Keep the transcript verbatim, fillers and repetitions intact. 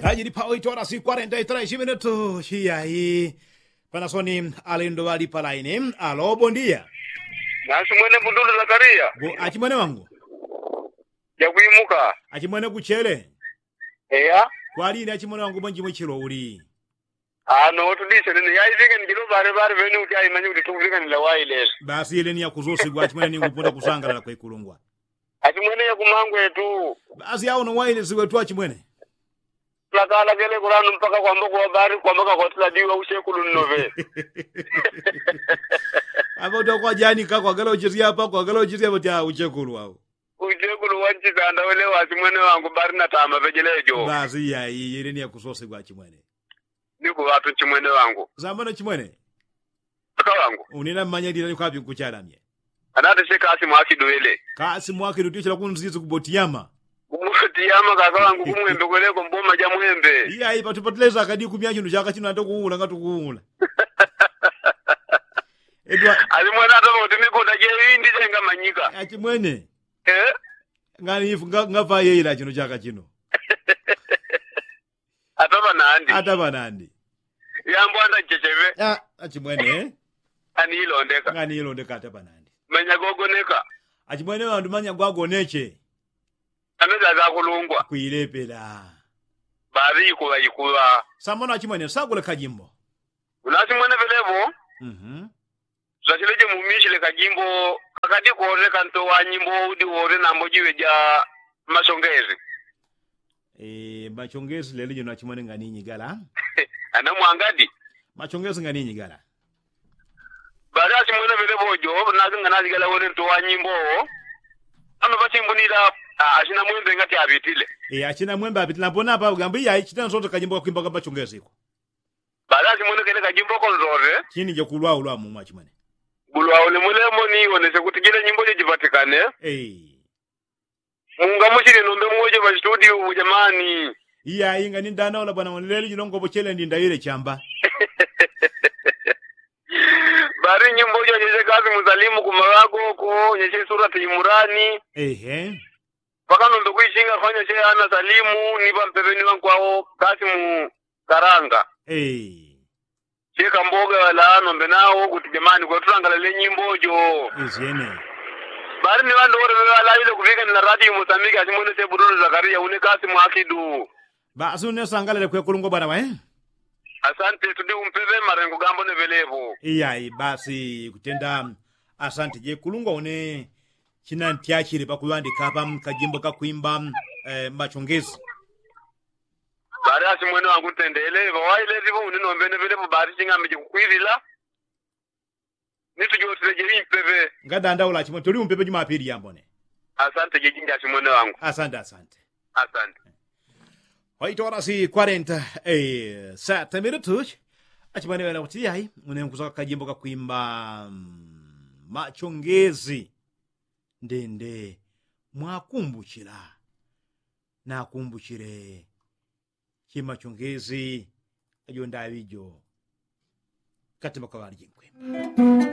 Kajili pawo itwala si kwarenta itwala ishiminetu shiyayi. Panasoni alendo ŵali palaini alo bondiya. Nasi mwene budulu zakariya. Achimwene wangu. Jakwimuka. Achimwene kuchele. Eya. Kwalini achimwene wangu mwenjimwe chilo uli? Ano tudise nene yaisike njilo ŵale ŵale ŵene uti aimanye kuti tukuvikanila wailesi. Basi ile ni yakuzosigwa achimwene ni ngupunda kusangalala kwekulungwa. Achimwene yakumangwetu. Basi yauno wailesi wetu achimwene. Lakala kele kulano mpaka kwamba kuwabari kwamba kakwatila diwa ushekulu nnoŵe. Apa uti akwajanika kwagala uchisya apa kwagala uchisya pati uchekulu wao. Uchekulu wanchisanda wele wachimwene wangu bari natama pejelejo. Basi yayi yele ni yakusosigwa achimwene. Nikuŵatu nchimwene wangu. Sambano chimwene. Kaka wangu. Unina mmanya lila ni kwapi nkuchalamye? Anati si kasi mwakidu wele. Kasi mwakidu tichila kunzizi kubotiyama. Kubotiyama kaka wangu kumwembe kweleko mboma ja mwembe. Iyayi patupatilesa akadi kumya chino chaka chino ante kuula ngati kuula. Edwa. Ali mwana atoma kuti mikunda je indi chengamanyika. Achimwene. Eh? Ngani ifu ngavayeila chino chaka chino. Atapa nandi. Atapa nandi. Yambo anda nchecheŵe. Achimwene. Anilondeka. Nganilondeka atapa nandi. Manya gogoneka. Achimwene wandu manya gwagoneche. Ameza gakulungwa kwilepela. Baŵi ikuŵa ikuŵa. Samona achimwene sagule kajimbo. Unachimwene velevo. Mhm. Zachile je mumichile kajimbo kakadi kore kanto wa nyimbo udi wore nambo jiwe ja masongezi. Machongezi lelo jino achimwene nganinyi gala. Ana mwangadi. Machongezi nganinyi gala. Bali achimwene vele vojo nake nganazi gala wene nto wa nyimbo. Ano vasimbunila achina mwembe ngati aŵitile. Achina mwembe aŵitile napona apa ugambo iyayi chita nsoto kajimbo kakwimba kamachongezi iko. Bala simwene kele kajimbo konzore. Chini jakulwa ulwa mumwa chimwene. Gulwa ule mulemo ni wonesye kuti jile nyimbo jo jipatikane. Munga muchili nombe mwojo pa studio ubu jamani. Iya inga ni ndana ola bwana mwaneleli jino ngobo chele ndi ndayile chamba. Bali nyimbo jo nyesye kasi musalimu kumawago ko nyesye surati imurani. Ehe. Paka nombe kuichinga fanya che ana salimu ni pampepeni wankwao kasi mu karanga. Cheka mboga wala nombe nawo kuti jamani kwatulangalale nyimbo jo. Bali ni ŵandu wole ŵeŵalawile kuŵikanila radio mosambiki asimwene sebudulu zakariya une kasi mwakidu. Basi une sangalale kwekulungwa bwana wae. Asante tudi umpeŵe marengo gambo neŵelevo. Iyayi basi kutenda. Asante jekulungwa une. Chinantyachile pakuŵandika apa kajimbo kakwimba. Machongezi. Bali asimwene wangu ntendele ŵawailesivo uninombene ŵelepo bali ching'ambe jikukwilila. Nitujotileje impepe. Ngadandaula chimwene tuli umpepe jumapili yambone. Asante jejinja asimwene wangu. Asante asante. Asante. Waitola si kwarenta. Sata minutu. Achimwene ŵena kuti yayi une nkusaka kajimbo kakwimba. Machongezi. Ndende mwakumbuchila. Nakumbuchile chimachongezi. Ajo ndaŵi jo. Katima kaŵali jinkwimba.